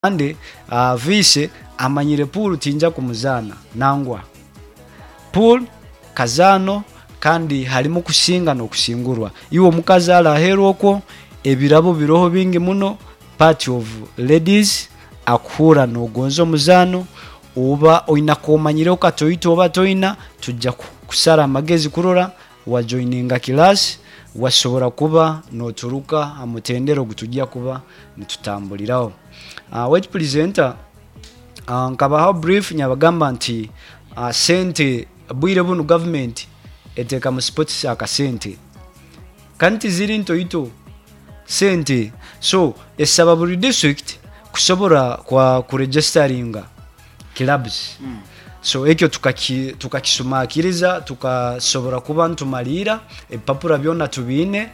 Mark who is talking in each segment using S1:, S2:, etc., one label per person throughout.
S1: Kandi Vice amanyire pool tinja kumuzaana nangwa. Pool kazaano kandi harimu kusinga nokusingurwa. Iwe omukazi ali aheeru okwo ebirabo biroho bingi muno, part of ladies akuhuura nogonza omuzaano oba oina komanyireho katoito oba toina tuja kusara amagezi kurora wa joininga class wasobora kuba noturuka ha mutendera ogu tujja kuba nitutambuliraho. Wait presenter, nkabahaho brief nyabagamba nti sente bwire bunu government eteka mu sports akasente kandi tiziri ntoito sente so esaba buri district kusobora kwa kuregisteringa clubs so ekyo tukakisumakiriza tukasobora kuba nitumariira ebipapura byona tubiine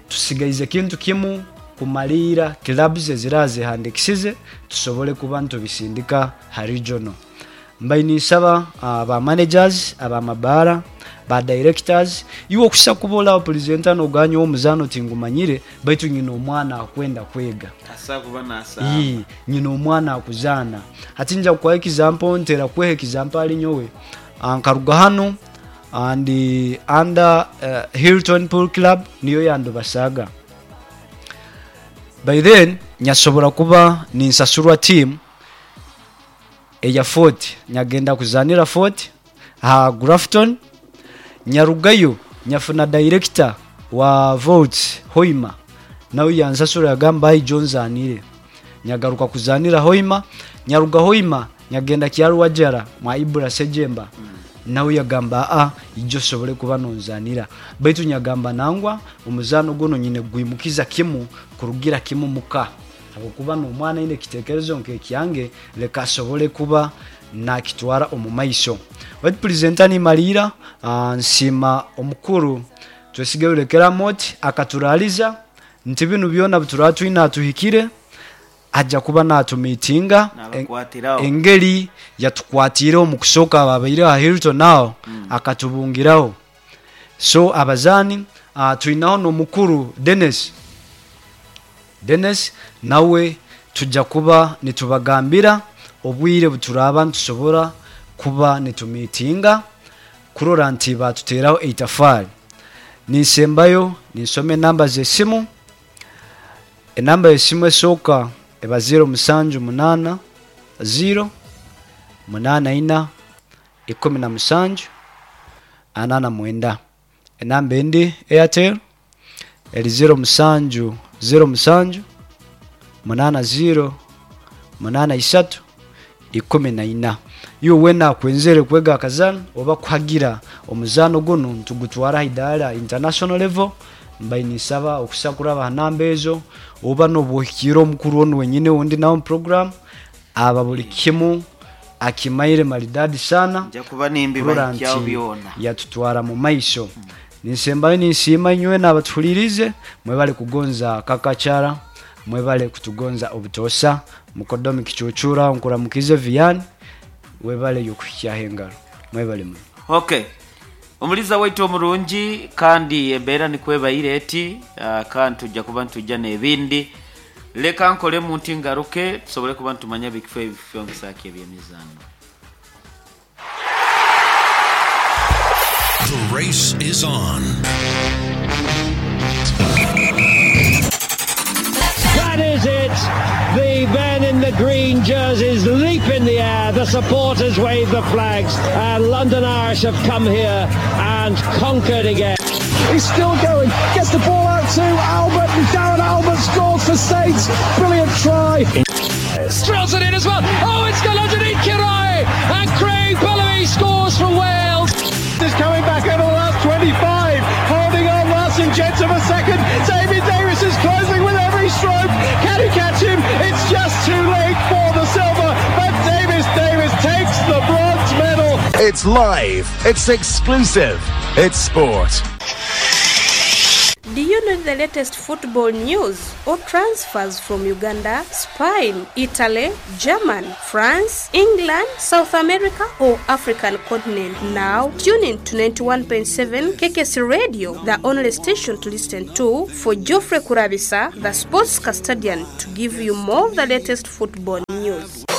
S1: tusigaize kintu kimu kumariira clubs eziraba zehandikisize tusobole kuba nitubisindika ha regional. Mbaire ninsaba ba managers aba mabaara, ba directors, iwe okuhitsya kuba ori aho presenter nogamba nyowe omuzaano tingumanyire baitu nyine omwana akwenda kwega.
S2: Asobola kuba nasaaba.
S1: Ii, nyine omwana akuzaana. Hati nja kukuha example, ntera kukuha example ahari nyowe. Nkaruga hanu ndi under Hilton Pool Club niyo yandubasaaga. By then nyasobora kuba ninsasurwa team eya Fort, nyagenda kuzaanira Fort aha Grafton, nyarugayo nyafuna director wa Volts Hoima nawe yansasura yagamba aija onzaanire. Nyagaruka kuzaanira Hoima, nyaruga Hoima nyagenda Kyarwajara mwa Ibra Sejemba nawe yagamba aa ija osobole kuba nonzaanira. Baitu nyagamba nangwa omuzaano gunu nyine kugwimukiza kimu kurugira kimu muka. Habwokuba n'omwana aine ekitekerezo nk'ekyange, leka asobole kuba nakitwara omu maiso. Baitu pulizenta nimaliira, nsiima omukuru Twesige Rulekera Amooti akaturaaliza nti binu byona bituraba twine atuhikire, aja kuba natumiitinga
S2: Nabakwatiraho.
S1: engeri yatukwatiireho omu kusooka ababaire aha Hilton aho akatubungiraho. So abazaani twinaho n'omukuru Denis. Denis nawe tuja kuba nitubagambira obwire buturaaba nitusobora kuba nitumiitinga kurora nti baatuteraho eitafaari. Ninsembayo ninsoma enamba z'esimu. Enamba y'esimu esooka eba ziiro musanju munaana ziiro munaana ina 17 49. Enamba endi Airtel eri 07 07 80 83 14. Iwe weena akwenzere kwega akazaano oba kuhagira omuzaano gunu nitugutwara aha idaara international level, mbaire ninsaba okusa kuraba aha namba ezo oba nobu ohikiire omukuru onu wenyini ou ndi nawe omu program aba buri kimu Akimaire maridadi sana
S2: Nja kuba
S1: kurora
S2: nimbibahikyaho
S1: nti
S2: byona.
S1: yatutwara mu maiso. Ninsembayo ninsiima inywena abatuhuliriize, mwebale kugonza Kakachara, mwebale kutugonza obutoosa. Mukodomi Kicuucuura nkuramukiize Vian, webale y'okuhikyaho engaro. Mwebale muno.
S2: Ok. Omuliza waitu omurungi, kandi embeera nikwo ebaire eti, kandi tuja kuba nitwija n'ebindi. Leka nkolemu nti ngaruke tusobole kuba nitumanya bikifo ebifyongesa ki eby'emizaano.
S3: The race is on.
S4: That is it. The men in the green jerseys leap in the air. The supporters wave the flags. And London Irish have come here and conquered again.
S5: He's still going. Gets the ball out to Albert. And Darren Albert scores for Saints. Brilliant try.
S4: Drills it in as well. Oh, it's gone underneath Kirai. And Craig Bellamy scores for Wales.
S5: Is coming back over the last 25. Holding on last inch of a second. David Davis is closing with every stroke. Can he catch him? It's just too late for the silver. But Davis Davis takes the bronze medal.
S6: It's live, it's exclusive, it's sport.
S7: Do you know
S3: the latest football news or transfers from Uganda, Spain, Italy, German, France, England, South America or African continent? Now tune in to 91.7 KKC Radio, the only station to listen to for Geoffrey Kurabisa, the sports custodian, to give you more of the latest football news.